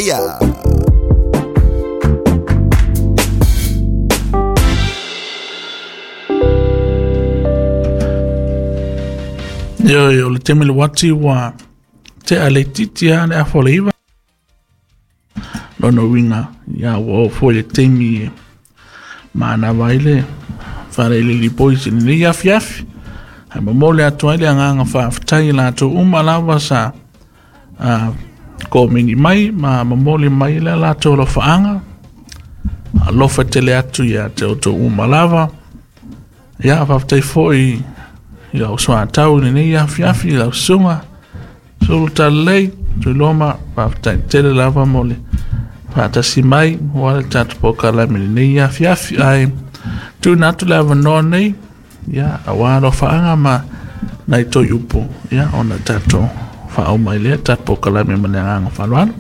Eia. Ioe, o le taimi le uati ua tea le itiiti lava le 8:30. Lona uiga, ia ua oo foi le taimi e manava ai le Falealili Boys i lenei afiafi. Ae momoli atu ai le agaga faafetai i latou uma lava sa komeni mai ma momoli mai le latou alofaaga. Alofa tele atu ia te outou uma lava. Ia, faafetai foi i lau soatau i lenei afiafi i lau susuga Sulu Talalelei Tuiloma, faafetai tele lava mo le faatasi mai ua le tatou polokalame i lenei afiafi. Ae tuuina atu le avanoa nei, ia, aua alofaaga ma nai toe upu, ia, ona tatou faauma ai lea tatou polokalame ma le agaga faaaloalo.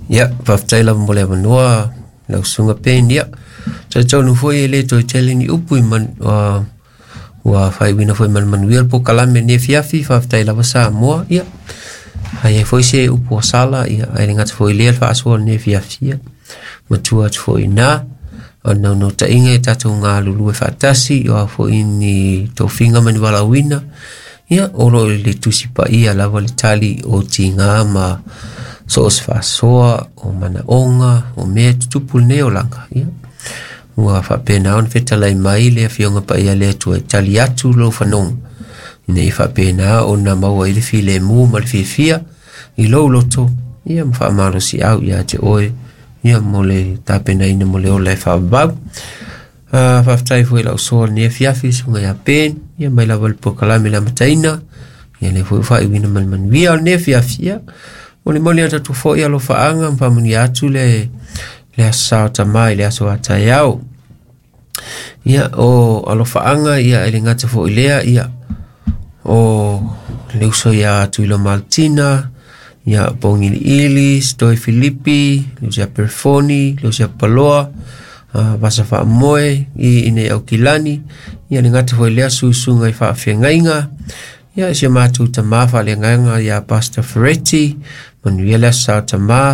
Ia, faafetai lava mo le avanoa lau susuga Ben. Ia, talitonu foi e le toe tele ni upu i man, ua faaiuina foi ma le manuia le polokalame lenei afiafi. Faafetai lava Samoa. Ia, ai ai foi se upu ua sala, ia, ae le gata foi i lea le faasoa o lenei afiafi. Ia, matua atu foi i ina. O le naunautaiga e tatou galulue faatasi, o a foi ni tofiga ma ni valaauina, ia, o lo o i le Tusi Paia lava le tali o tiga ma so o se faasoa, o manaoga, o mea e tutupu i lenei olaga. Ia, ua faapena ona fetalai mai le Afioga Paia a le Atua e tali atu lou fanoga, ina ia faapena ona maua ai le filemu ma le fiafia i lou loto, ia ma faamalosiau ia te oe, ia mo le tapenaina mo le ola e faavavau. Faafetai foi i lau soa i lenei afiafi, susuga ia Ben, ia mai lava i le polokalame i le amataina, ia lea foi ua faaiuina ma le manuia o lenei afiafi. Ia, molimoli atu foi alofaaga ma faamanuia atu le aso Sa o Tamā i le aso a taeao. Ia, o alofaaga, ia, e le gata foi i lea, ia, o le uso ia Tuilo Maltina, ia Pogiliili, Stoi Filipi, le uso ia Perefoni, le uso ia Paloa, Vasa Faamoe, i inei Aukilani, ia le gata foi i lea susuga i faafeagaiga, ia si o matou tamā faaleagaga ia Pastor Ferretti, manuia le aso Sa o Tamā.